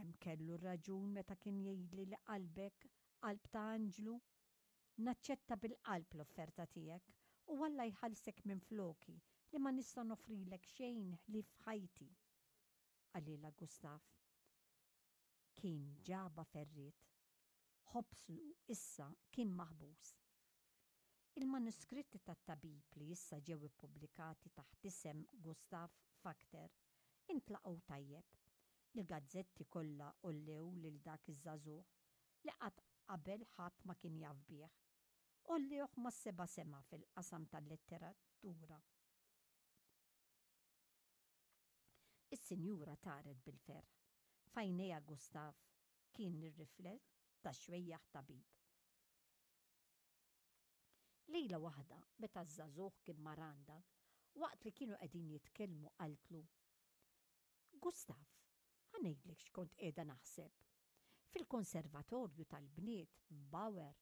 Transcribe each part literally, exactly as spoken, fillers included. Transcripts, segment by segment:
Kemm kellu raġun meta kien jgħidli li qalbek qalb ta' anġlu. Naċċetta bil-qalb l-offerta tiegħek u Alla jħallsek minn floki li ma nista' noffrilek xejn ħlief ħajti. Qalilha Gustav. Kien ġaba ferriet. Ħobsu issa kien maħbus. Il-manuskritti tat-tabib li issa ġew ippubblikati taħt isem Gustav Fakter intlaqgħu tajjeb. Il-gazzetti kollha għollew lil dak iż-żagħżugħ li qatt qabel ħadd ma kien jaf bih. Għollewh mas-seba' sema fil-qasam tal-letteratura. Is-sinjura taret bil-ferħ. F'għajnejha Gustav kien ir-rifless tax-xwejjaħ tabib. Lejla waħda, meta ż-żagħżugħ kien mar għandha, waqt li kienu qegħdin jitkellmu qaltlu, Gustav, ħa ngħidlek x'kont qiegħda naħseb. Fil-konservatorju tal-bniet f'Bauer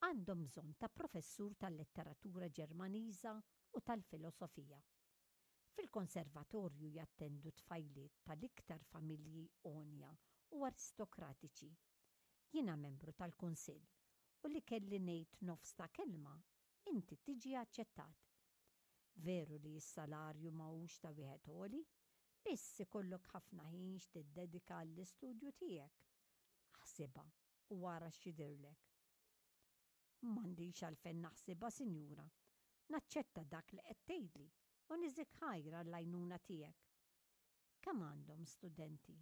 għandhom bżonn ta' professur tal-letteratura Ġermaniża u tal-filosofija. Fil-konservatorju jattendu tfajliet tal-iktar familji għonja u aristokratiċi. Jiena membru tal-kunsill u li kelli ngħid nofs ta' kelma, inti tiġi aċċettat. Veru li s-salarju ma hux ta' wieħed għoli, biss ikollok ħafna ħin x'tiddedika għall-istudju tiegħek. Aħsibha u ara x'jidhirlek. M'għandix għalfejn naħsibha, sinjura. Naċċetta dak li qed tgħidli u niżik ħajr għall-għajnuna tiegħek. Kemm għandhom studenti?